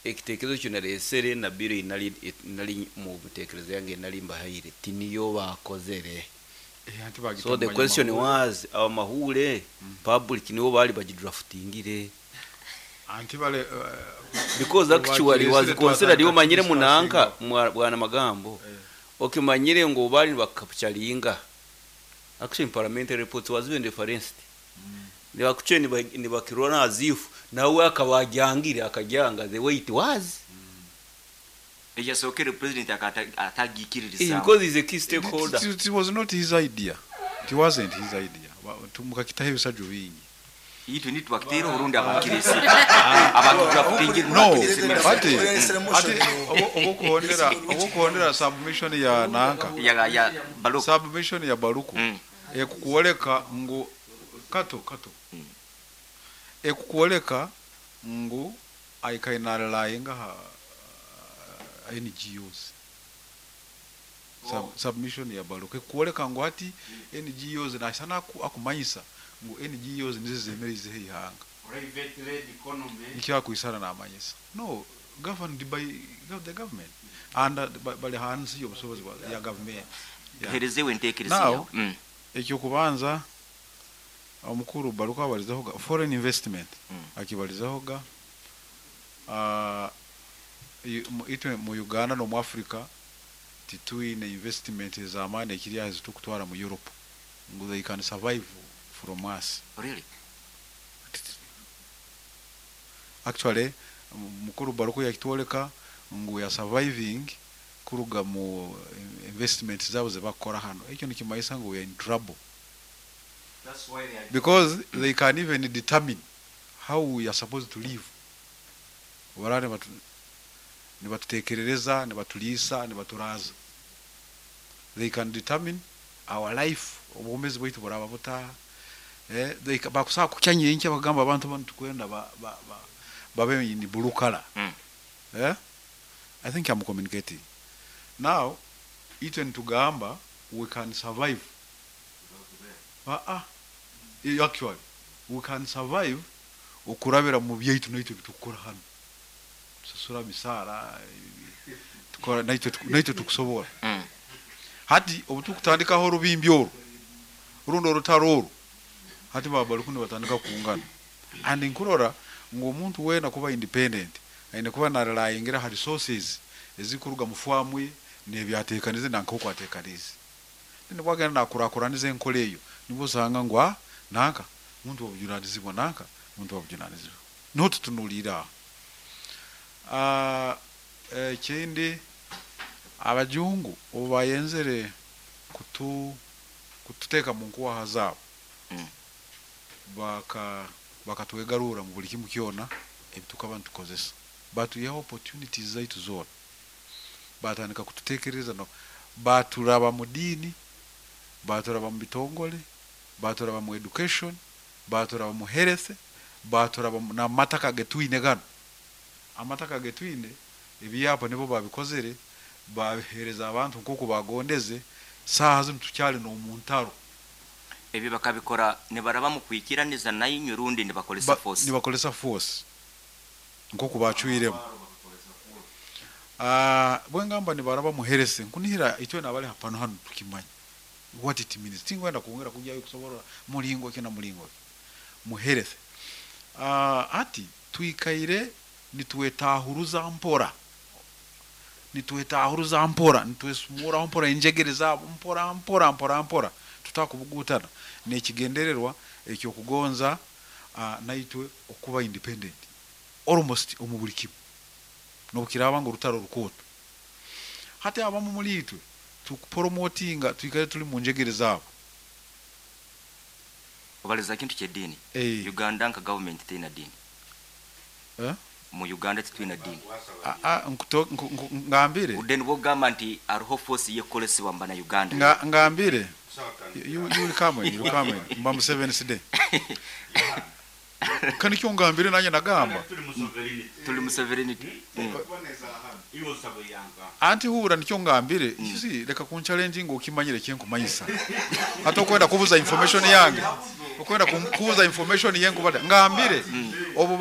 Ekitekerezo ekyo naresere na bill ei nari nari omu ntekerezo yange ei nari mbahaire tiniyo baakozere. Eh, anti baagita So omu the question banyamahuure. was abamahuure public nibo baari bagidraftingire? Anti bare Because actually was obu bagireesire considered twatandika omanyire munanka kudiscussingaho. Bwana Magambo Eh. okimanyire ngu baari nibakapcharinga actually in parliamentary reports was even referenced nibakucwe nibakirora as if nawe akaba agyangire akagyanga the way it was. Eyasookere president atagiikiririzaamu. Because he's a key stakeholder. It was not his idea. It wasn't his idea. Mukakitaho ebisajjo bingi. Itwe nitwakiteera orundi abakireesire abakidraftingire No, bakireesire ati ati obukuhondera obukuhondera submission ya nanka ya Baluku. Submission ya Baluku ekukwoleka ngu kato kato ekukwoleka ngu aikaire narelyinga aha NGOs. Submission ya Baluku ekukwoleka ngu hati NGOs nashana akumanyisa ngu NGOs nizo zemereizeho eihanga. Private led economy. Nikyo akwisana namanyisa. No, governed by the government and bali hansi y'obusobozi bwa ya government. Yeah. Tuherezewe entekereza Now, yawe. Ekyokubanza omukuru Baluku abarizeho ga foreign investment akibarizeho ga itwe mu Uganda no mu Africa titwine investment ez'amaani ekiri aha ezitukutwara mu Europe ngu they can survive from us. Really? Actually mukuru Baluku yakitworeka ngu we are surviving kuruga mu investment zabo zebakukora hano. Ekyo nikimanyisa ngu we are in trouble. That's why they are Because they can even determine how we are supposed to live. Barara nibatutekerereza, nibatuliisa, nibaturaza. They can determine our life, obwomezi bwaitu buraba buta. They bakusaa kukya nyenkya bagamba abantu banu tukwenda babe ni blue color. I think I'm communicating. Now, itwe nitugamba we can survive. Actually, we can survive okurabira mu byaitu naitwe bitukukora hano. Tusasura misaara, tukora naitwe tukusobora. Hati obutukutandikaho orubimbi oru, rundi orutaro oru, hati baba bari nibatandika kungana. And nkurora ngu omuntu weena kuba independent, aine kuba narelyingira ha resources ezikuruga mu farm ye n'ebyateekanize na nk'oku ateekanize. Then bwagenda nakurakuraniza enkora eyo, nibwo osanga ngu nanka muntu wabujunanizibwa, nanka muntu wabujunanizibwa. Niho tutunuliire aho. Ekindi abajungu obu bayenzere kututeeka mu nkuwaha zaabo, bakatwegarura mu buli kimu kyona ebitukaba nitukozesa. Batuihaho opportunities zaitu zoona. Batandika kututekereza no baturaba mu diini, baturaba mu bitongole, baturaba mu education, baturaba mu health, baturaba n'amataka getwine gano. Amataka getwine ebyapa nibo babikozere, babihereza abantu nk'oku bagondeze. Saaha zinu tukyali n'omuntaro. Ebyo bakabikora nibaraba mu kwikiraniza nainywe rundi nibakolesa force? Nibakolesa force nk'oku bacwiremu. Bwengamba nibaraba mu health, nkunihira itwe nabali hapano hano tukimanya what it means. Tingwenda kuongera kujyayo kusoborora mulingo ki na mulingo ki mu health. Ati twikaire nitwetahuruza mpora, nitwetahuruza mpora, nitwesumura mpora enjegere zabo mpora mpora mpora mpora, tutakubugutana nekigendererwa ekyo kugonza naitwe okuba independent almost omu buli kimu, nobukiraba ngu rutaro rukoto. Hati abamu muri itwe tukupromotinga twikare tuli mu njegere zabo. Obaliza kintu ky'eddiini. Uganda nka government teina diini. Mu Uganda titwina diini. Ngambire. Udeni bwogamba nti hariho force yekolesebwa mbana Uganda. Ngambire. You will come in, you will come in. Mba Museveni side. Kandi kyo ngambire nanye nagamba. Tuli mu sovereignty. Anti hura nikyo ngambire. You see, reka kun challenge ngo ukimanyire kyenkumanyisa. Hata okwenda kubuza information yange. Okwenda kubuza information yengu bada. Ngambire. Obu